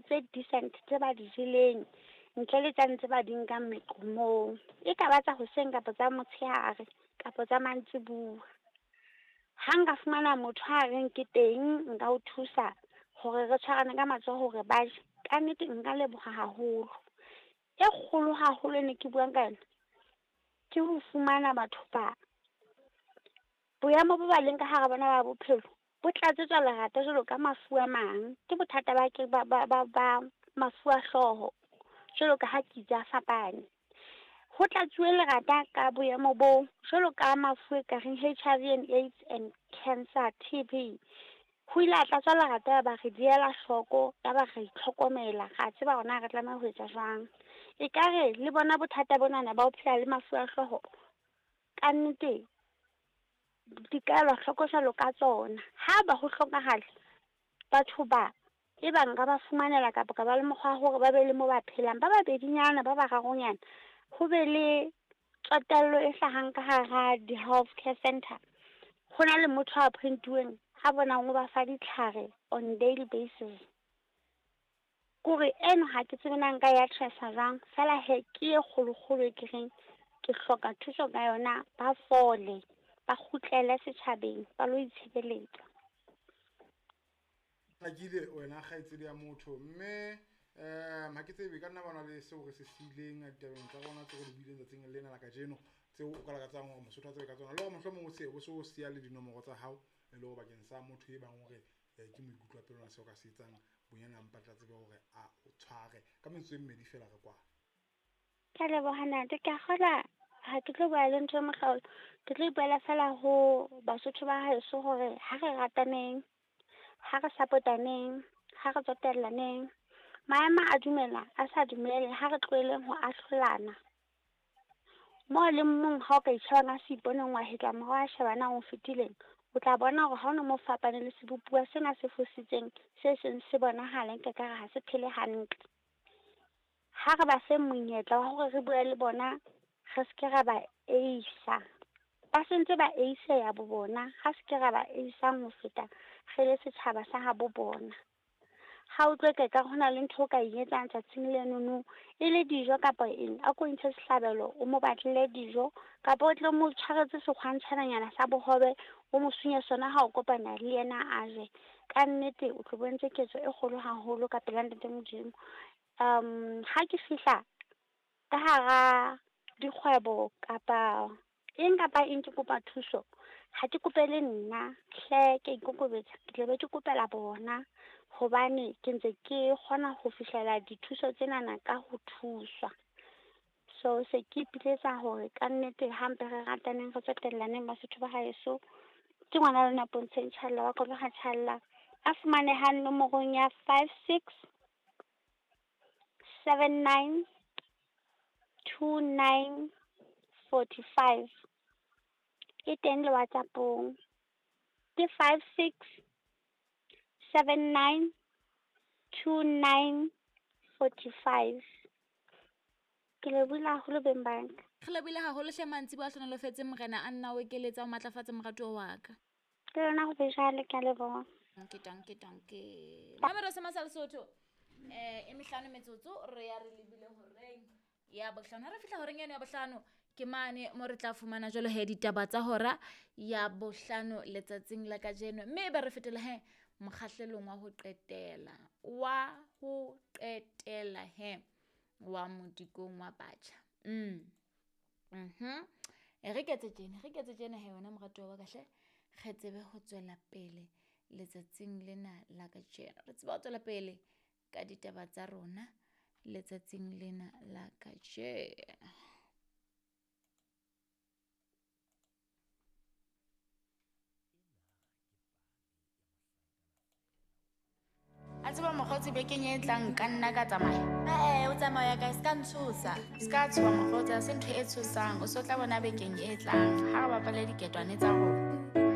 tse decent tse ba di jeleng ntle le tsane tse ba di nkang meqomong. E ka ba tsa hoseng kapa tsa motshehare kapa tsa mantsibuya. Ha nka fumana motho a reng ke teng nka o thusa hore re tshwarane ka matsoho hore ba je, kannete nka leboha haholo. E kgolo haholo e ne ke buang ka yona, ke ho fumana batho ba boemo bo ba leng ka hara bona ba bophelo bo tlatsetswa lerata jwalo ka mafu a mang. Ke bothata ba ke ba ba ba ba mafu a hlooho jwalo ka ha ke itse a fapane. Ho tlatsuwe lerata ka boemo bo jwalo ka mafu e kareng HIV and AIDS and cancer, TB. Ho ile a tlatswa lerata ya ba re diela hloko, ya ba re itlhokomela, ra tseba hore na re tlameha ho etsa jwang. Ekare le bona bothata bonana ba ho phela le mafu a hlooho, kannete di ka elwa hloko jwalo ka tsona. Ha ba ho hlokahala, batho ba e bang nka ba fumanela kapa ka ba le mokgwa wa hore ba be le mo ba phelang, ba babedinyana, ba bararonyana, ho be le tsotello e hlahang ka hara di-health care center. Ho na le motho a appoint-uweng a bonang o ba fa ditlhare on daily basis. Kore eno ha ke tsebe na nka e address-a jwang, feela he ke e kgolokgolo e ke reng ke hloka thuso ka yona, ba fole, ba kgutlele setjhabeng, ba lo itshebeletsa. Hlakile wena kgaitsedi ya motho, mme ha ke tsebe ka nna ba na le seo re se siileng ditabeng tsa rona tseo re di buileng tsatsing lena la kajeno, tseo o ka lakatsang hore Mosotho a tsebe ka tsona, le hore mohlomong o se o so siya le dinomoro tsa hao e le hore bakeng sa motho e bang hore ke moikutlo wa pelo na seo ka se etsang bonyane a mpa tla tsebe hore a o tshware ka metsotso e mmedi fela re kwana. Ke a leboha ntate, ke a kgolwa ha ke tlo bua le ntho e mohlolo, ke tlo ipuela fela ho Basotho ba heso hore ha re rataneng, ha re support-aneng, ha re tsotellaneng. Maemo a dumela, a sa dumele, ha re tlohelleng ho ahlolana. Mo le mong ha o ka itjheba ka seiponeng wa hetla morao wa sheba na o fetileng, o tla bona hore ha ona mo fapane le sebopuwa sena se fositseng se seng se bonahala nke ka re ha se phele hantle. Ha re ba fe monyetla wa hore re bue le bona, re se ke ra ba eisa. Ba sentse ba eiseya bo bona, ha se ke ra ba eisang ho feta re le setjhaba sa habo bona. Ha o utlwe ka ekare hona le ntho o ka e etsang tsatsing lenono, e le dijo kapa eng, a ko ntshe sehlabelo, o mo batlele dijo, kapa o tle o mo tshwaretse sekgwantshwananyana sa bohobe, o mo sunye sona ha o kopana le yena a je. Ka nnete o tlo bontse ketso e kgolo haholo ka pela Ntate Modimo. Ha ke fihla ka hara dikgwebo kapa eng kapa eng ke kopa thuso, ha ke kopele nna hle, ke a ikokobetsa, ke tla be ke kopela bona hobane ke ntse ke kgona ho fihlela dithuso tsenana ka ho thuswa. So se ke ipiletsa hore kannete hampe re rataneng, re tsotellaneng Basotho ba haeso. Ke ngwana lona Pontsheng Tjhalla wa Koloha Tjhalla, a fumanehang nomorong ya 5 6 7 9 2 9 45. E teng le WhatsApp-ong. Ke 5 6 7 9 2 9 45. Ke lebohile haholo beng ba ka. Re lebohile haholo hle mantsiboya a hlohonolofetse Morena a nna o ekeletsa o matlafatse moratuwa wa ka. Ke lona ho be jwalo, ke a leboha. Danke, danke, danke. Mamelo se masa Lesotho. E mehlano metsotso re ya re lebile horeng ya bohlano. Ha re fihla horeng eno ya bohlano ke mane mo re tla fumana jwalo he ditaba tsa hora ya bohlano letsatsing la kajeno, mme e be re fetela he mokgahlelong wa ho qetela, wa ho qetela he wa modikong wa batjha. Re ketse tjena, re ketse tjena he wena moratuwa wa ka hle, re tsebe ho tswela pele letsatsing lena la kajeno. Re tsebe ho tswela pele ka ditaba tsa rona letsatsing lena la kajeno. A tseba mokgotsi bekeng e tlang nka nna ka tsamaya. O tsamaya kae? Se ka ntshosa. Se ka tshoha mokgotsi, ha se ntho e tshosang. O so tla bona bekeng e tlang ha re bapale diketwane tsa rona.